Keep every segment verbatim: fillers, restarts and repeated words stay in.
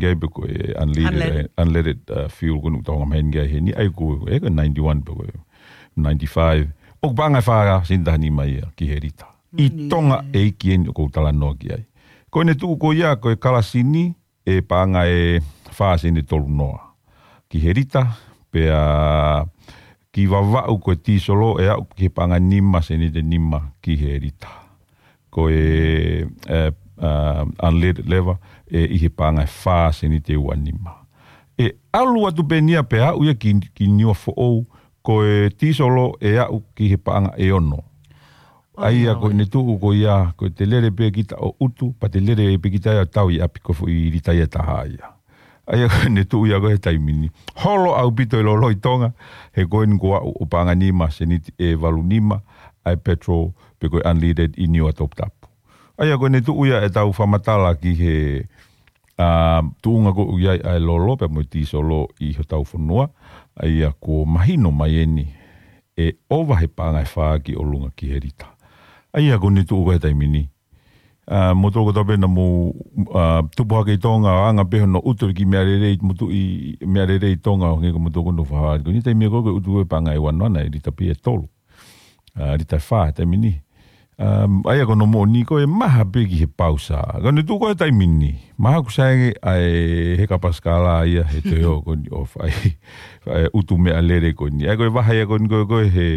ʻIkai pē ko e unleaded, unleaded, uh, fuel ko eni ʻoku tau ʻomai heni ʻi heni. ʻA ia ko e, ko e ninety-one pē ko e ninety-five. ʻOku paʻanga ʻe fā sēniti taha nima ia ki he lita. ʻI Tonga ʻEiki eni ʻoku ou talanoa ki ai. Ko ʻene tuʻu ko ia ko e kalasini ʻe paʻanga ʻe fā sēniti tolu noa ki he lita, pea ki Vavaʻu ko e tīsolo ʻe aʻu ki he paʻanga nima sēniti nima ki he lita. Ko e, e, a, unleaded leva ʻe ʻi he paʻanga ʻe fā sēniti ua nima. ʻE ʻalu atu pē eni ia pea aʻu ia ki, ki Niuafoʻou, ko e tīsolo ʻe aʻu ki he paʻanga ʻe ono. ʻA ia ko ʻene tuʻu ko ia, ko e te lele pē kita ʻo ʻutu, pea te lele pē kita ia ʻo tau ʻi ʻapi, ko e foʻi lita ia ʻe taha ia. ʻA ia ko ʻene tuʻu ia ko ē he taimi ni. Holo ʻaupito e lolo ʻi Tonga, he ko eni kuo aʻu ʻo paʻanga nima sēniti ʻe valu nima ʻa e petrol pe ko e unleaded ʻi Niuatoputapu. ʻA ia ko ʻene tuʻu ia ʻetau fakamatala ki he, a, tuʻunga ko ē ʻoku ʻi ai ʻa e lolo pea mo e tīsolo ʻi hotau fonua. ʻA ia kuo mahino mai eni ʻe ʻova he paʻanga ʻe fā ki ʻolunga ki he lita. ʻA ia ko ʻene tuʻu ko ē he taimi ni. A, moutolu kotoa pē naʻa mou, a, tupu hake ʻi Tonga, ʻo anga pē hono ʻutu ki he meʻalele, moutolu ʻi, meʻalele ʻi Tonga, ʻo hangē ko moutolu ko ē naʻa mou fakahā. Ko ʻene taimi ko ē ko e ʻutu ʻe paʻanga ʻe ua noa, naʻe lita pē ʻe tolu. A, lita ʻe fā he taimi ni. Um, ʻa ia ko hono moʻoni ko e maha pē ki he pausa. Ko ʻene tuʻu ko ē he taimi ni. Maha ʻoku sai ange ʻa e heka pasikala ia he toe ō ko eni ʻo fai, fai ʻutu meʻalele ko eni. ʻA ia ko e vahe ia ko eni ko ē, ko ē he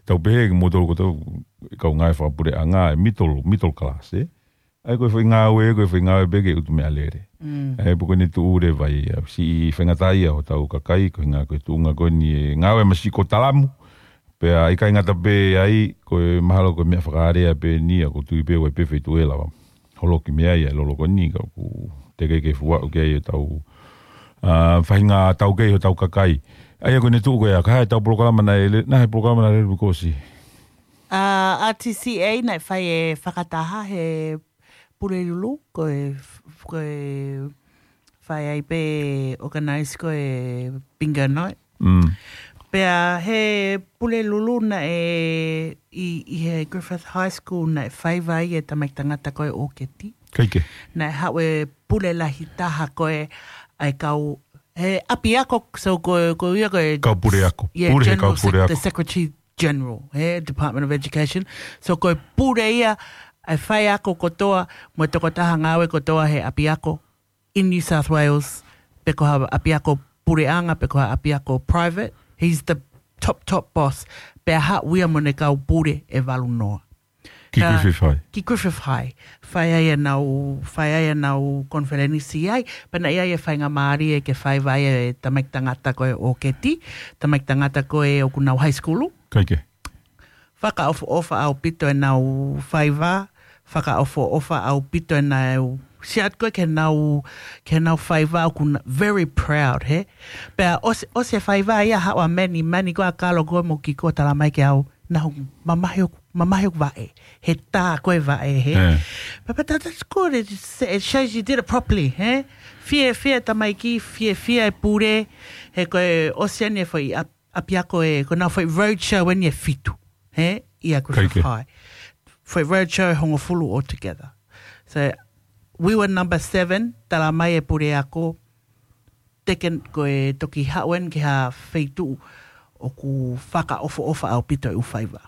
tau pehē ki moutolu kotoa kau ngāue fakapuleʻanga, middle, middle class, ē? ʻA ia ko e foʻi ngāue, ko e foʻi ngāue pē ke ʻutu meʻalele. Mm. ʻA ia pē ko ʻene tuʻu leva ia, siʻi faingataʻaʻia hotau kakai, ko e ʻuhinga ko e tuʻunga ko eni ʻe ngāue masiʻi ko talamu, pea ʻikai ngata pē ai, ko e mahalo ko e meʻa fakaʻalea pē eni, ʻoku ou tui pē ʻoku ʻi ai pē feituʻu ʻe lava. Holoki mei ai ʻa e lolo ko eni ka ʻoku teʻeki ke fua ʻoku ʻi ai ʻetau, a, faʻahinga taukei hotau kakai. ʻA ia ko ʻene tuʻu ko ia, ka ʻi ai ʻetau polokalama naʻe le-, naʻe ʻi ai e polokalama naʻe lele kuo ʻosi. A, R T C A naʻe fai e fakataha he Pulelulu, ko e, ko e fai ai pē organize ko e bingo night. Mm. Pea he Pulelulu naʻe ʻi, ʻi he Griffith High School naʻe faiva ai e tamaiki tangata ko ē ʻo ʻOketi. Kae kehe. Naʻe haʻu e pule lahi taha ko ē ʻa e kau, he ʻapiako, so ko, ko ia ko e kau puleako. Yeah, pule he general kau sec-, puleako. The secretary general, he Department of Education. So ko e pule ia ʻa e faiako kotoa, mo e tokotaha ngāue kotoa he ʻapiako in New South Wales, pe ko ha ʻapiako puleʻanga, pe ko ha ʻapiako private. He's the top, top boss. Pea haʻu ia mo ʻene kau pule ʻe valu noa. Ki Ka-, Griffith High. Ki Griffith High. Fai ai ʻenau, fai ai ʻenau konifelenisi ai. Pea naʻe ʻi ai e faingamālie ke faiva ai e tamaiki tangata ko ē ʻo ʻOketi. Tamaiki tangata ko ē ʻoku nau high school. Kae kehe. Fakaʻofoʻofa ʻaupito ʻenau faiva. Fakaʻofoʻofa ʻaupito ʻenau, siat ko ē ke nau, ke nau faiva ʻoku na-, very proud, he? Pea ʻosi, ʻosi e faiva ia haʻu ʻa Mani, Mani ko ē ʻa Kalo ko ē mo Kiko talamai ke au, naʻa ku mamahi ʻoku, mamahi ʻoku vaʻe. He tā ko ē vaʻe, he? Eh. But, but that, that's good. It, it shows you did it properly, he? Fiefia e tamaiki, fiefia e pule, he ko e ʻosi eni e foʻi ʻap-, ʻapiako ē, ko ʻenau foʻi roadshow eni ʻe fitu, he? ʻIa ko Kae kehe. Foʻi roadshow ʻe hongofulu altogether. So, we were number seven, talamai e puleako, teke ko e toki haʻu eni ki ha feituʻu ʻoku fakaʻofoʻofa ʻaupito e ʻū faiva.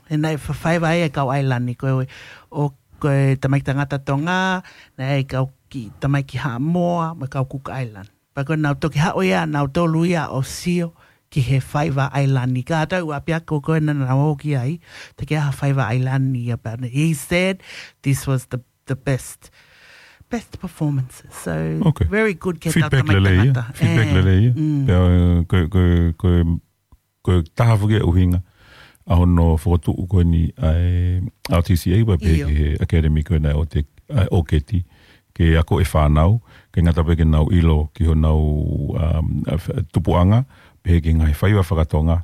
He naʻe fa-, faiva ai e kau ʻailani, ko e, ʻo, ko e tamaiki tangata Tonga, naʻe ʻi ai e kau ki, tamaiki Haʻamoa, mo e kau Cook Island. Pea ko ʻenau toki haʻu ia, nautolu ia ʻo sio ki he faiva ʻailani. Kātoa e ʻū ʻapiako ko ē naʻa nau ō ki ai, teʻeki ai ha faiva ʻailani ia pea ne. He said this was the, the best, best performances. So, okay. Very good ke tau Feedback tamaiki lelei ia. Tangata. Feedback Eh, lelei ia. Mm. Pea, ko, ko, ko, ko e taha foki e ʻuhinga ʻa hono fokotuʻu ko eni ʻa e R T C A pea pehē ʻIo. Ki he academy ko ena ʻo te, ʻa e ʻOketi, ke ako e fānau, ke ngata pē ke nau ʻilo ki honau, um, a, f-, tupuʻanga, pehē ki he ngaahi faiva faka-Tonga,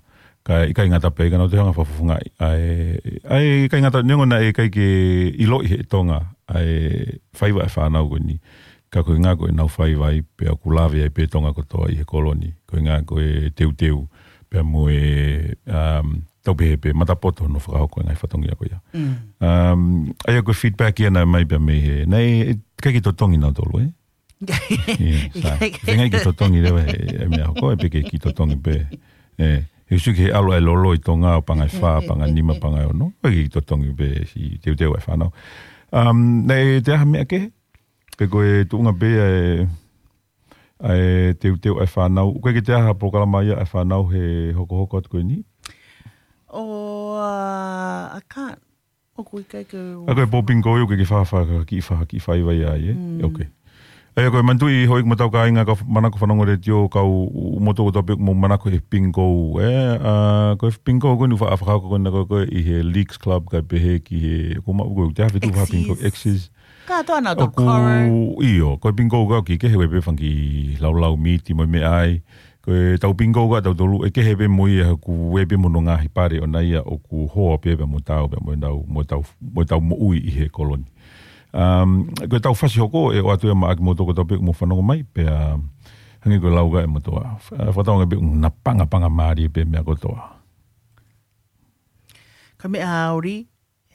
kae ʻikai ngata pē ka nau toe hanga fakafofongaʻi, ʻa e, ʻa e, ʻikai ngata neongo naʻe ʻikai ke ʻiloʻi he Tonga, ʻa e faiva e fānau ko eni, ka ko e ʻuhinga ko ʻenau faiva ai, pea ʻoku lave ai pē Tonga kotoa ʻi he kolo ni, ko e ʻuhinga ko e teuteu, pea mo e, um, tau pehē pē matapoto hono fakahoko e ngaahi fatongia ko ia. Mm. Um, ʻa ia ko e feedback ia naʻe mai pea mei he, naʻe, ʻikai ke totongi nautolu, ē? Ia, sai. Feinga ke totongi leva he, he meʻa ko ē pe ke kiʻi totongi pē. ʻE, he sio ki he ʻalu ʻa e lolo ʻi Tonga ʻo paʻanga ʻe fā, paʻanga ʻe nima, paʻanga ʻe ono. ʻOku kiʻi totongi pē siʻi teuteu ʻa e fānau. Um, naʻe toe ʻi ai ha meʻa kehe? Pe ko e tuʻunga pē ʻa e, ʻa e teuteu ʻa e fānau. ʻOku ʻikai ke toe ʻi ai ha polokalama ia ʻa e fānau he hokohoko atu ko eni? Oh, uh, I can't. ʻOku ʻikai ke ʻA ko e pō bingo ʻoku ke fa, fa, kiʻi fa, kiʻi faiva ia, ē? Mm. Ok. ʻA ia ko e manatuʻi houʻeiki mo hotau kāinga ka manako fanongo letiō kau moutolu kotoa pē ʻoku mou manako he bingo, ē? ʻA, ko e bingo ko eni ʻoku fa, fakahoko ko ena ko ē ʻi he Leagues Club kae pehē ki he, ko ma, ko e te hafe tu fa bingo X's. X's. Kātoa nautolu ʻoku, ʻio, ko e bingo ka ki ke he ue pē fanga kiʻi laulau miti mo e meʻa ai. Ko e tau bingo ka tautolu, ʻe kehe pē mo ia ʻoku ue pē mo hono ngaahi pale ʻona ia ʻoku hoa pē pea mo tau, pea mo tau, mo tau, mo tau moʻui ʻi he koloni. Um, ko e tau fasi hoko, ʻe ʻoatu ia maʻa kimoutolu kotoa pē ʻoku mou fanongo mai, pea hangē ko e lau ka ʻe moutolu. Fa-, fakatauange pē ʻoku na pangapanga mālie pē meʻa kotoa. Ka meʻa ʻauri,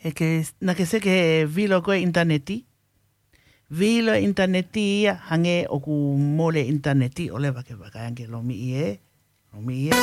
ʻe ke, naʻa ke sio ki he vilo ko ē ʻinitaneti. Vilo ʻinitaneti ia, hangē ʻoku mole ʻinitaneti, ʻo leva ke vakai ange lomiʻi ē. Lomiʻi ē.